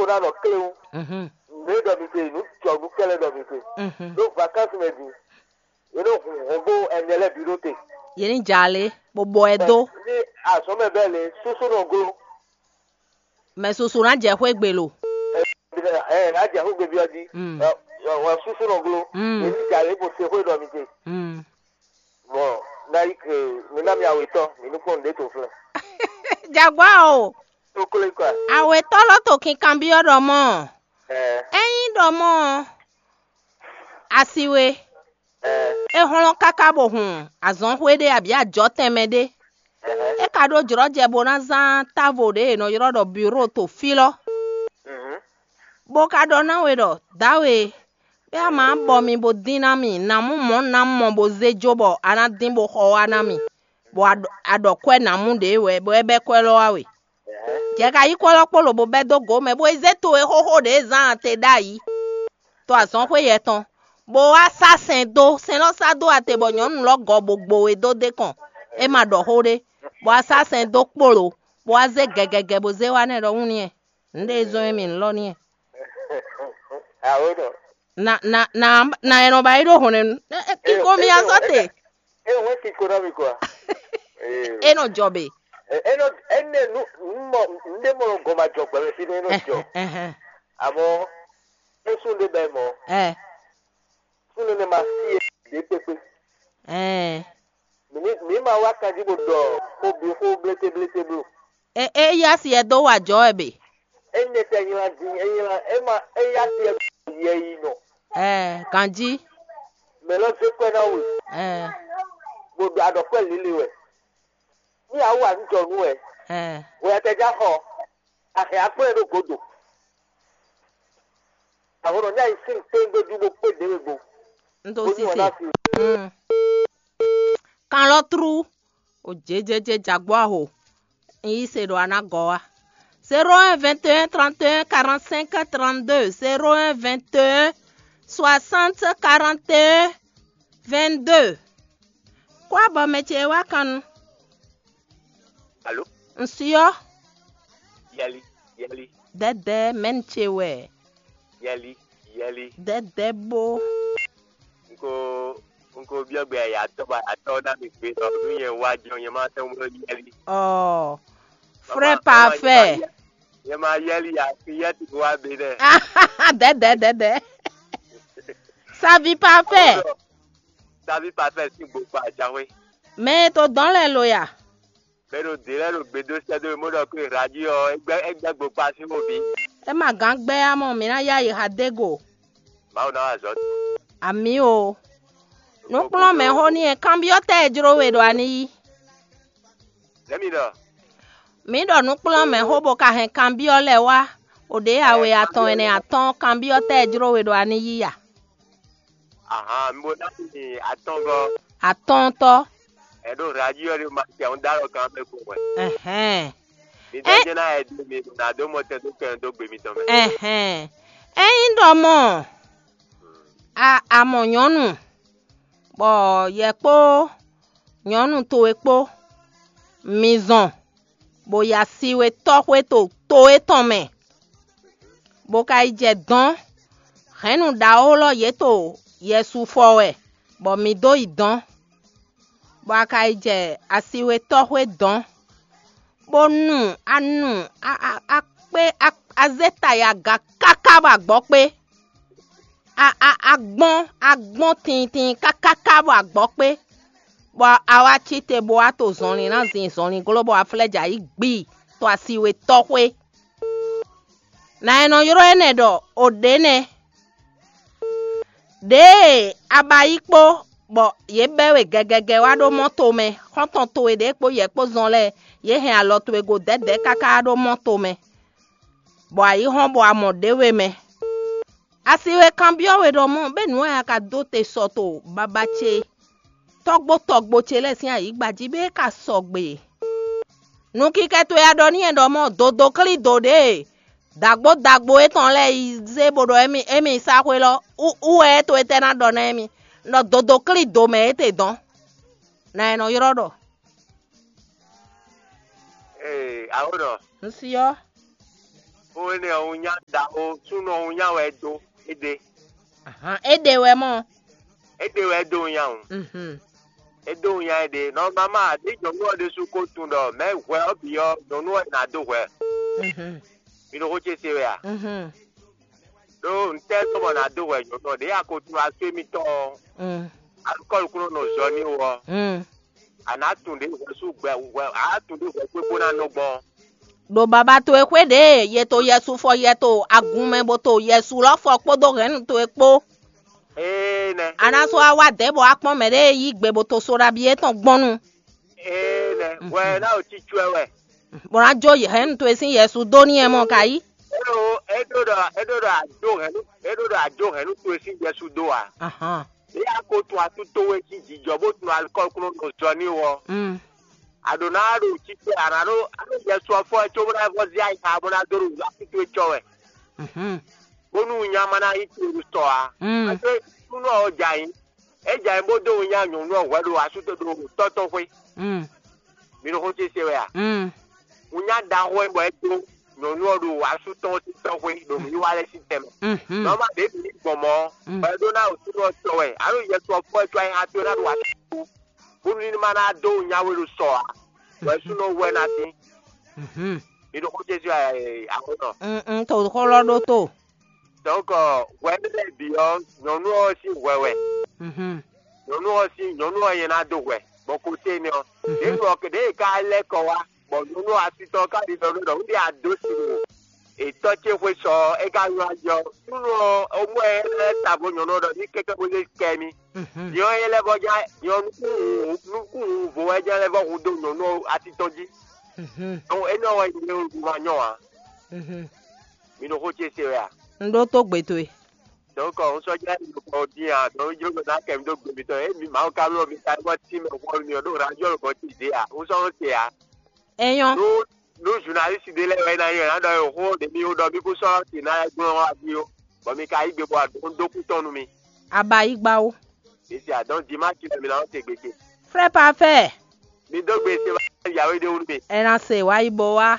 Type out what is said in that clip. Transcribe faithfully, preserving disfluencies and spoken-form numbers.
ná nɔ kléwún. Mhm. Nǔ e ɖɔ mi te, nǔ jɔ nǔ kɛ́lɛ́ ɖɔ mi te. Mhm. Ɖó vakansi mɛ din, yě nɔ hun hɔngbó ɛnɛ lɛ́ɛ bǐ ɖó te. Yě ní jà lé, bó bɔ ɛ dó. Ní azɔ̌ mɛ bɛ́ lě, súsú nɔ gló. Mɛ susu ná jɛ xwé gbe lo. Ɛ ɛ ná jɛ xwé gbe byɔ́ jí. Mm. Ɛ ɛ wɔ súsú nɔ gló. Mm. Yě ní jà lě bó se xwé ɖɔ mi te. Mm. Bɔ ná yi ke mi ná mi awetɔ mi ní kpɔ́n nǔɖé to flɛ́. Jaguar o, Tó klé kɔa. Awetɔ lɔ to kinkanbyɔ́ ɖɔ mɔ. Ɛ Ényí ɖɔ mɔ asi we, ɛ é hlɔ́n káká bó hun azɔnxwé ɖé abǐ ajɔtɛn mɛ ɖé. Ɛhɛn. É ka ɖó jlɔ́jɛ bó ná zán távo ɖě è nɔ ylɔ́ ɖɔ biro to fí lɔ, Mhm. bó ka ɖɔ ná we ɖɔ: Dǎwe, bɛ́ a ma bɔ mi bó dín ná mì, nǎ mú mɔ̌ ná mɔ bó zé jó bɔ a ná dín bó xɔ wá ná mì, bɔ a ɖɔ- a ɖɔ kwɛ́ nǎ mú ɖě wɛ, bɔ é bɛ́ kwɛ́ lɔ wá we. Jɛ ka yí kwɛ́ lɔ kpó lobo bɛ́ dó gǒ mɛ, bó yi zé to e xóxó ɖě zán ate ɖ'ayǐ, to azɔnxwé yɛtɔn, bó wá sá sɛn dó. Sɛn lɔ sá dó ate bɔ nyɔ̌nu lɔ gɔ bó gbo we dó d'é kɔn, é ma ɖɔ xó ɖé, bó wá sá sɛn dó kpólo, bó wá zé gɛgɛgɛ bó zé wá nɛ́ ɖɔ: Wún n'i, nǔɖé e zɔ́n é mi nǔ lɔ n'i. Awo nɔ. Na na na na ɛ nɔ ba yi ɖó hɔn nɛnu. Kíko mi azɔ te. E wɛn kíko ná mi kɔ. Ee. E nɔ jɔ be. Ɛ- Enɔ ene nu nu mɔ nde mɔ gɔma jɔ gbɛmɛ fi ne enɔ jɔ. Ɛhɛn. Amɔ esun de bɛ mɔ Ɛ sun ne ma si e de kpekpe. Ɛ Mi ní mi ma wá kanjí bó ɖɔ xó bí xó blété blété bló. E e yá si ɛ dó wà jɔ ɛ be. Enye tɛ nyla dín enyla ema eya tiɛ yɛ yi nɔ. Ɛ ganjí. Mɛ lɔ zé kwɛ ná we Ɛ bó ɖo aɖɔkwɛ líle wɛ. Ní a wú anújɔnú wɛ ɛ wɛ tɛ já xɔ ahɛ akplɛ ɖó godo. Àwọn ọ̀nà ní àyè sí ní pé gbójú bó pé déwé gbo. N tó Ó ní wọn sise. Náà fi Mm. Kan lɔ trú. O jejeje jagbó aho. N yí se ɖo aná gɔ wa. Zéro un vingt et un trente et un quarante-cinq trente-deux, zéro un vingt et un soixante quarante et un vingt-deux. Kó abɔ mɛ ce wá kan nu. Alo? N syɔ. Yɛli, yɛli. Dɛdɛ mɛni ce wɛ. Yɛli, yɛli. Dɛdɛ bo. N ko n ko byɔ́ gbe ayatɔ ba atɔ ná mi gbe ɖɔ nú nyɛ wá jɔ nyɛ má tɛ́ wló yɛli. Ɔ. Frère parfait. Nyɛ ma yɛli ya fi yɛ ti wá be dɛ. Dɛdɛ dɛdɛ. Savi parfait. Savi parfait sín gbogbo ajawe. Mɛ e to dɔn lɛ lo ya. Mɛ ɖo dě lɛ́ɛ ɖo gbe dó sɛ́ dó mɔ ɖɔ kó e radio ɔ́, é gbɛ́ é gbɛ́ gbokpá sín xó bǐ. É ma gán gbɛ́ ǎ mɔ, mǐ ná yá yi ha dó e go. Mawu ná wa azɔ̌. Amǐ o. Nǔkplɔ́nmɛxó ní e kanbyɔ́ tɛ́ e jló we ɖo a ní yí? Lɛ̌ mi ɖɔ. Mǐ ɖɔ nǔkplɔ́nmɛxó bó ka hɛn kanbyɔ́ lɛ́ɛ wá, o ɖě awe atɔn ɛnɛ atɔ́ɔ́n kanbyɔ́ tɛ́ e jló we ɖo a ní yí a? Ahan, mi bo ná mi atɔngɔ. Atɔntɔ. Ɛ ɖo radio ɖe ma ti àwọn dá lɔ kan bɛ ko wɛ. Ɛhɛn. Mi dɔ jɛ na ɛ di mi na do mɔ tɛ do kɛ do gbe mi tɔn mɛ. Ɛhɛn. Ényí ɖɔ mɔ a amɔ nyɔnu, bɔ yɛ kpó nyɔnu towe kpó mi zɔn, bó ya si we tɔ́xwé to to étɔn mɛ, bó ka yi jɛ dɔ̌n. Hɛ̌nnu ɖaxó lɔ yě to yɛsu fɔ wɛ, bɔ mǐ dó yi dɔ̌n, bɔ a ka yi jɛ asiwetɔ́xwé dɔ̌n, bó nu anu akpé azé ta yi aga káká bɔ agbɔ̌ kpé. A a a gbɔn a gbɔn tintin kákáká bɔ agbɔ̌ kpé, bɔ a wá cí te bó wá to zɔnlin ná zin zɔnlin gló bɔ a flɛ́ jɛ ayǐ gbii to asiwetɔ́xwé. Nǎ e nɔ ylɔ́ énɛ́ ɖɔ o ɖě nɛ́. Ɖěe a ba yí kpó, bɔ yě bɛ́ we gɛgɛgɛ wá ɖó mɔ́ tomɛ, xɔ́ntɔn towe ɖě kpó yɛ kpó zɔn lɛ́ɛ, yě hɛn alɔ towe go dɛ̌dɛ̌ káká wá ɖó mɔ́ tomɛ, bɔ a yi hɔ́n bɔ a mɔ ɖě we mɛ. A si we kanbyɔ́ we ɖɔ mɔ̌, bɛ́ nǔ e a ka dó te sɔ to babá ce tɔ́gbó tɔgbo ce lɛ́ɛ sín ayǐgba jí bɛ́ é ka sɔgbe. Nukikɛ towe a ɖɔ n'i wɛ ɖɔ mɔ̌, dodo klí do ɖě e dǎgbó dǎgbó étɔn lɛ́ɛ yi zé bó ɖɔ émí émí sá xwé lɔ, ú ú wɛ é to étɛ́ ná ɖɔ ná émí? Un ɖɔ dodo klí do mɛ é te dɔn. Nǎ e nɔ ylɔ́ ɖɔ? Ee, awo ɖɔ. Un si ɔ́. Xó énɛ́ ɔ́, wunnya ɖaxó súnɔ wunnya wɛ é dó. É ɖe. Ahan, é ɖe wɛ mɔ. É ɖe wɛ é dó wunnya o. Mhm. É dó wunnya é ɖe. Nɔmama ɖé nyɔ̌nu ɔ́ ɖésú ko tunwun ɖɔ mɛ̌ hwɛ ɔ́ bǐ ɔ́, nyɔ̌nu ɔ́ ná dó hwɛ. Mhm. Mi ɖo xó ce se wɛ a? Mhm. Ɖó ntɛ́ tɔn bɔ ná dó hwɛ nyɔ̌nu ɔ́? Ɖě a ko tunwun asú émítɔn ɔ́, Mm. alukɔ́lu kún nɔ zɔ n'i wú ɔ́, Mm. a nǎ tunwun ɖě hwɛ sú gbɛ hwɛ a nǎ tunwun ɖě hwɛ xwé bó ná nɔ gbɔn. Ɖo baba towe xwé ɖě ye to yɛsu fɔ yɛ to agun mɛ bó to yɛsu lɔ́ fɔ kpódó hɛ̌nnu towe kpó. Ee nɛ. A ná sɔ́ wá wá dɛ̌ bɔ wá kpɔ́n mɛ ɖé e yí gbe bó to so ɖabi étɔn gbɔn nu. Ee nɛ. Hwɛ ná o cícú ɛ wɛ. Bó ná jó hɛ̌nnu towe sín yɛsu dó n'i ɛ mɔ ka yí. Éɖo éɖo ɖɔ éɖo ɖɔ àjó hɛ̌nnu éɖo ɖɔ àjó hɛ̌nnu towe sín yɛsu dó a? Ahán. Ní a ko tun atú towe sín jǐjɔ bó tun alikɔ́kúnɔ nɔ zɔ n'i wɔ. Mm. A ɖǒ ná ɖo títí a nǎ ɖó a ɖó yɛsu ɔ́ fɔ ɛ cóbó ná vɔ zé ayi xa bó ná dó ɖo atú towe cɔ wɛ. Mhm. Bónú nya ma ná yí to ɖo sɔ a. Mm. Pase súnɔ ɔ́ jɛ ayǐ. É jɛ ayǐ bó dó nya nyɔ̌nu ɔ́ hwɛ ɖo asú to ɖo tɔ́ tɔn xwé. Mm. Mi ɖo xó ce se wɛ a? Mm. Wunnya ɖaxó e bɔ é dó nyɔ̌nu ɔ́ ɖo asú tɔn sín tɔ́xwé ɖo nǔwiwa lɛ́ɛ sín tɛnmɛ. Mhm. Nɔma ɖě bǐ ní gbɔn mɔ̌, Mm. bɔ é ɖó ná ɖo súnnu ɔ́ tɔ wɛ, alo yɛsu ɔ́ fɔ ɛ có ayǐ xá towe ná ɖo asú, bónú ní ma ná dó wunnya we ɖo sɔ ǎ, bɔ é súnnu ɔ́ wú ɛ ná tín. Mhm. Mi ɖo xó ce se wɛ a? Akwɛ́nɔ. Un un to xó lɔ ɖó to. Donc hwɛ lɛ́ɛ bǐ ɔ́, nyɔ̌nu ɔ́ sín hwɛ wɛ. Mhm. Nyɔ̌nu ɔ́ sín nyɔ̌nu ɔ́ nyɛ ná dó hwɛ, bɔ kote énɛ́ ɔ́, ɖě nɔ ɖě e ka lɛ́ kɔ wá, bɔ nyɔ̌nu ɔ́ asitɔ ɔ́ ka ɖi ɖɔ nú ɖɔ un ɖe ado sin wò. Etɔ́ ce xwé sɔ ɔ́, é ka nylá jɛ ɔ́, súnnu ɔ́, ó mɔ ɛ lɛ́ ta vo nyɔ̌nu ɔ́ ɖɔ ní kɛ́kɛ́ bó zé kɛ mì. Mhm. Nyɔ̌ é lɛ́ vɔ ján nyɔ̌ nukún nukún vo wɛ ján lɛ́ vɔ hu dó nyɔ̌nu ɔ́ asitɔ jí. Mhm. Donc énɛ́ ɔ́ wɛ nyɛ wɛ ma nyɔ́ ǎ. Mhm. Mi ɖo xó ce se wɛ a? Un ɖó tó gbe towe. Donc un sɔ́ jlɛ́ mi ɖo kɔ dín a, donc jló gbɛ́ ná kɛ mi dó gbe mitɔn. É mi Mawu ka bló mi ka wá tí mɛ xɔ mi ɔ́ ɖó radio lɔbɔ tí zé a, un sɔ́ nɔ te a. É nyɔ́. Nú nú journaliste ɖé lɛ́ɛ wɛ ná nyɔ́ ná ɖɔ xó ɖě mi ɖɔ mi kú sɔ́ te ná lɛ́ gblɔ́n wá ví ó, bɔ mi ka yí gbe bɔ un dó kú tɔn nú mi. A ba yí gba ó. Mi se a, donc dimanche lɛ mi ná nɔ te gbe ce. Frère parfait. Mi dó gbe se wá yàwé ɖé wú nú mi. Ɛ ná se wá yí bo wá.